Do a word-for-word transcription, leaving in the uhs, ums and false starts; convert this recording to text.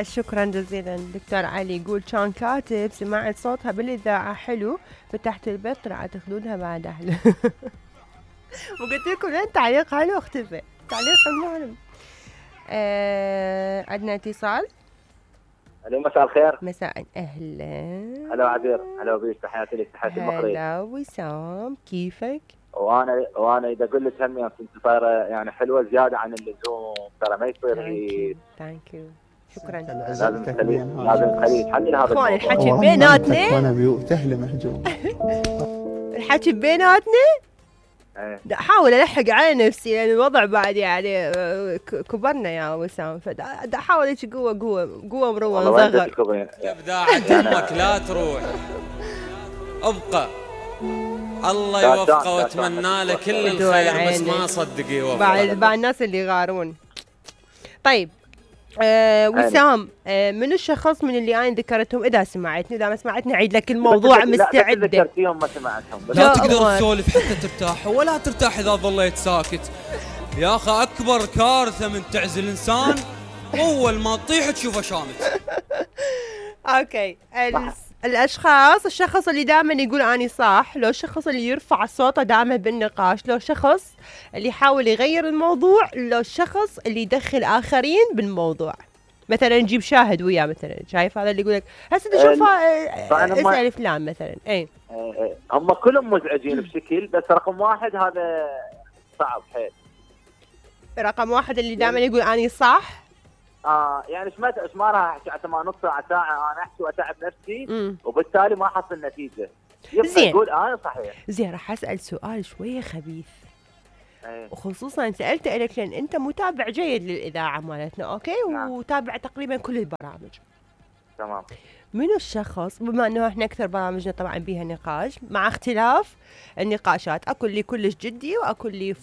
شكرا جزيلا دكتور علي. يقول كان كاتب سمعت صوتها بالإذاعة حلو، فتحت البيت طلعت خدودها بعد أحلى. وقلت لكم لين تعليق حلو اختفى تعليق المهم. آه عندنا اتصال. الو مساء الخير. مساء اهلا. هلا عبير. هلا بيش، تحياتي لك تحياتي المقري. هلا وسام كيفك؟ وانا وانا اذا اقول لك هم كنت صايره يعني حلوه زياده عن اللزوم، ترى ما يصير هيك. ثانك يو شكرا. لازم تخلي لازم تخلي تحلل هذا اخوان الحكي بيناتنا. وانا بيوت اهلي محجوب. الحكي بيناتنا. دا احاول الحق على نفسي لان الوضع بعد يعني كبرنا يا وسام، فدا احاول هيك قوه قوه قوه مروه نصغر. ابداع امك لا تروح، ابقى الله يوفقه واتمنى له كل الخير، بس ما صدق يوفقه. بعد بعد الناس اللي يغارون. طيب آه وسام، آه من الشخص من اللي انا ذكرتهم اذا سمعتني، اذا ما سمعتني اعيد لك الموضوع مستعده. لا ذكرتيهم ما سمعتهم. لا تقدر تسولف حتى ترتاح، ولا ترتاح اذا ظليت ساكت يا اخي. اكبر كارثه من تعزل انسان اول ما تطيح تشوفه شامت. اوكي الاشخاص، الشخص اللي دائما يقول اني صح، لو الشخص اللي يرفع صوته دائما بالنقاش، لو شخص اللي يحاول يغير الموضوع، لو الشخص اللي يدخل اخرين بالموضوع. مثلا نجيب شاهد وياه مثلا، شايف هذا اللي يقول لك هسه تشوفه اسال فلان مثلا. اي هم كلهم مزعجين بشكل، بس رقم واحد هذا صعب حيل. رقم واحد اللي دائما يقول اني صح. اه يعني ايش ما ايش ما راح احكي حتى ما نص ساعه ساعه انا احكي واتعب نفسي مم. وبالتالي ما احصل نتيجه. زين يقول انا صحيح. زين راح اسال سؤال شويه خبيث. أيه. وخصوصا سالته لك لان انت متابع جيد للاذاعه مالتنا، اوكي؟ نعم. وتابع تقريبا كل البرامج. تمام. منو الشخص، بما انه احنا اكثر برامجنا طبعا بيها نقاش، مع اختلاف النقاشات، اكو اللي كلش جدي واكو اللي